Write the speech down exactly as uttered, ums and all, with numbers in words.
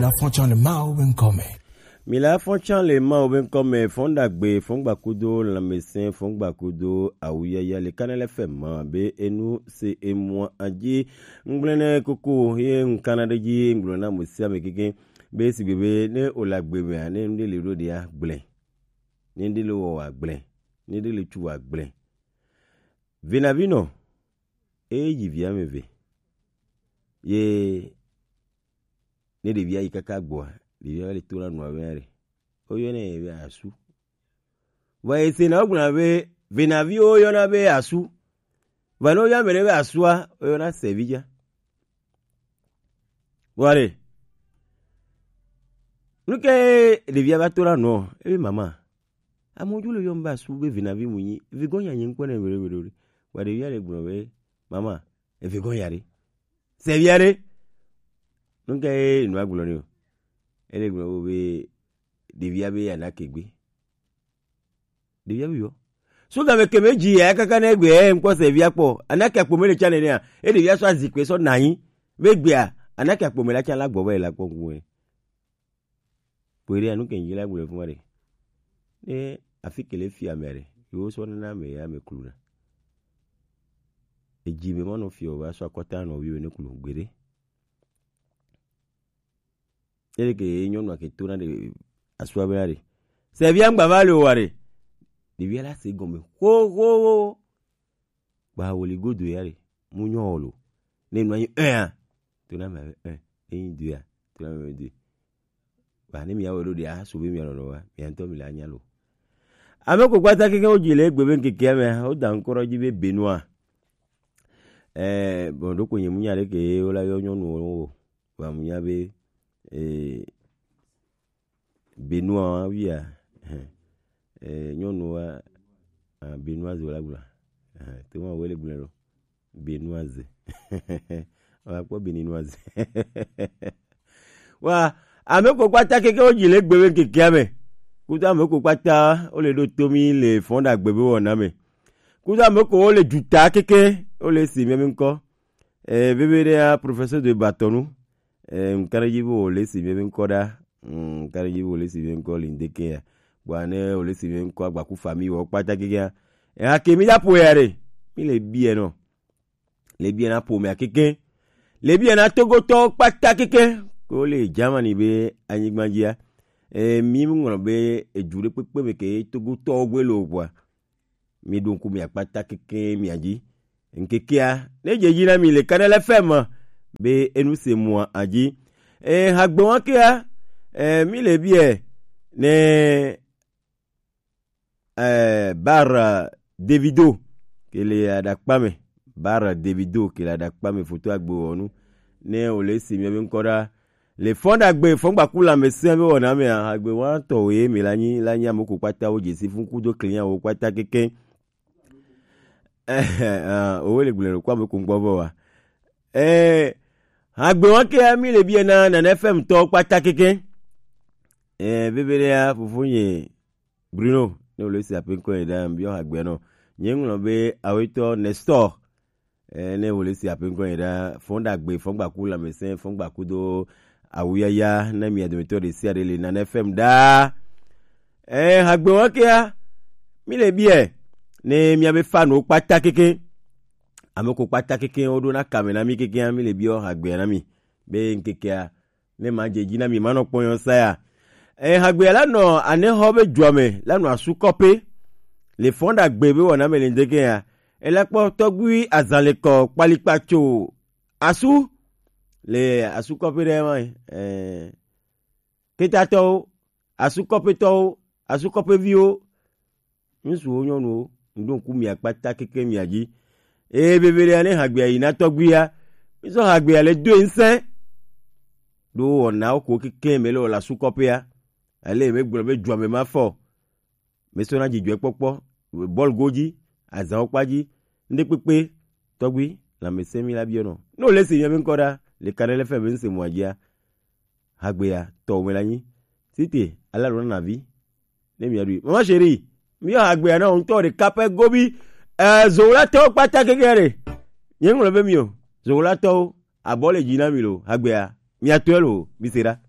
La fonction le Mao ben comme. Mi la fonction le Mao ben comme fondagbe, fongbakudo, lamesen, fongbakudo, awuyaya, le Canal F M, be enu se emua adji, ngblene koko, ye nkana de dji, ngblena musia me keke, be sigbe be, ne olagbe me, ne nde le do dia, gblẽ. Ne nde le wo wa gblẽ. Ne nde le tu wa gblẽ. Vina vino, e yi via me ve. Ye ne ɖevia yi kaka gbɔa, ɖevia va le to na nua be na ɖe. Woyɔnɛ be asu. Vɔ ese na wogblɔna be venavi woyɔna be asu. Vɔ ne woyɔ ame ɖe be asua, woyɔna sevi dza. Vɔ ɖe, nu ke ɖevia va to na nua? Ebe mama, amewo dzo le yɔm be asu be venavi mu nyi. Vegɔ̃ nya nye ŋkpɔ ne weɖe weɖe weɖe. Vɔ ɖevia le gblɔ be mama, evegɔ̃ ya ɖe. Sevia ɖe. Nu ka ye nua gblɔ ni o? Ele gblɔ be ɖevia be yana ke gbe. Ɖevia be yɔ. So game ke me dzi ya kaka ne gbe e ŋkpɔ sevia kpɔ. Ana ke akpo me le tsa ne nea. E ɖevia sɔ azikpe sɔ nanyi. Be gbea, ana ke akpo me la tsa la gbɔ be la kpɔ ŋku. Kpoe ɖe anu ke nyi la gblɔ fuma ɖe. Ne afi ke le fi ame ɖe, yewo sɔ nana ame ya ame kluna. Edzi me mɔnɔ fiɔ va sɔ akɔta nɔ wiwe ne klu gbeɖe. Ele ke ye nyɔnua ke to na ɖe asua be na ɖe. Sevia ŋgba va le o wa ɖe. Ɖevia la se gɔme. Ho, ho, ho. Kpa wòle godo ya ɖe, mu nyɔ wɔ lo. Ne nɔ anyi un a, to na me un, ne nyi deux a, to na me deux. Ba ne mi awɔ ɖo ɖe, a so be mi anɔ nɔ wa, mi ŋutɔ mi la nya lo. Ame ko kpata keke wo dzi le egbe be ŋkeke me, wo da ŋkɔ ɖe dzi be Benoit. Eh, bon, ɖo ko nye mu nya ɖe ke wo la yɔ nyɔnu wo. Ba mu nya be, eh, Benoit wa wia, eh, nyɔnu wa, ah, Benoise wala gblɔ. Eh, te ma wele gblɔ lo. Benoise. Wa kpɔ Beninoise. Wa, ame ko kpata keke wo dzi le gbe be ŋkekea me. Kudo ame ko kpata wo le ɖo to mi le fɔn ɖagbe be wɔna me. Kudo ame ko wo le juta keke wo le si mi ŋkɔ. Eh, veve ɖe ya, professeur de Batonu. Eh, ŋkana dzi be wo le si mi ŋkɔ ɖa. Mm, ŋkana dzi be wo le si mi ŋkɔ li ndeke ya. Bua ne wo le si mi ŋkɔ agbaku famille wo kpata keke ya. Eh, ake mi da po ya ɖe. Mi le bi ya nɔ. Le bi ya na po me akeke. Le bi ya na Togotɔ kpata keke. Ko le Germany be anyigba dzia. Eh, mi ŋlɔ be edu ɖe kpekpe me ke Togotɔ gbe lo bua. Mi ɖo ŋku mi akpata keke mi adzi. Ŋkekea, ne dze dzi na mi le Kanal F M be enu se mua adzi. E, hagbe wa kea, e, mi le biɛ ne, e, bar, e, Davido ke le aɖakpa me. Bar Davido ke le aɖakpa me foto agbe wɔnu. Ne o le si mi be ŋkɔ ɖa. Le fɔn ɖagbe, fɔn gbaku lãmesẽ be wɔna mea, hagbe wa tɔ wo ye mi la nyi, la nyi ame ko kpata wo dzesi fun kudo klinya wo kpata keke. Eh, ah, owe le gblẽ ɖo kɔ ame ko ŋgbɔ vɔ wa. Eh, hagbe wa ke mi le biɛ na Nana F M tɔ kpata keke. Eh, bebe ɖe ya, fofo nye Bruno, ne wòle si aƒe ŋkɔ yi ɖa, biɔ hagbe nɔ. Nye ŋlɔ be awetɔ Nestor. Eh, ne wòle si aƒe ŋkɔ yi ɖa, fɔn ɖagbe, fɔn gbaku lãmesẽ, fɔn gbaku do awuyaya, ne mia dometɔ ɖe sia ɖe le Nana F M ɖaa. Eh, hagbe wa kea, mi le biɛ, ne mia be fan wo kpata keke. Ame ko kpata keke wo ɖo na kame na mi keke, mi le biɔ hagbe na mi. Be ŋkekea, ne ma dze dzi na mi, ma nɔ kpɔnyɔ saya. Eh, hagbe la nɔ anexɔ be dua me, la nɔ asu kɔpe. Le fɔn ɖagbe be wɔna me le ŋdeke ya. Ela kpɔ tɔgbui azalekɔ kpalikpatso asu. Le asu kɔpe ɖe ma, eh, ketatɔwo, asu kɔpetɔwo, asu kɔpeviwo. Ŋutsuwo, nyɔnuwo, ŋɖo ŋku mia kpata keke mia dzi. Eye veveɖea ne hagbea yi na tɔgbuia, mizɔ hagbea le doe ŋsẽ. Ɖo wɔnawo ko keke me le wɔ le asu kɔƒea. Ale megblɔ be dua me ma fɔ. Mesɔna dzidzɔkpɔkpɔ, bɔl go dzi, azãwo kpa dzi, ŋɖe kpekpe, tɔgbui, lãmesẽ mi la biɔ nɔ. Ne wòle se mia be ŋkɔ ɖa, le Kanal F M be ŋse mɔa dzia, hagbea tɔ me la nyi. Site, ala lo na vi. Ne mia ɖui. Mama chérie, mi yɔ hagbea na ŋutɔ ɖeka pɛ gobi. Eh, zolatɔwo kpata keke ɖe. Nye ŋlɔ be mi o. Zolatɔwo, abɔ le dzi na mi lo. Hagbea, mia tɔe lo, mi se ɖa.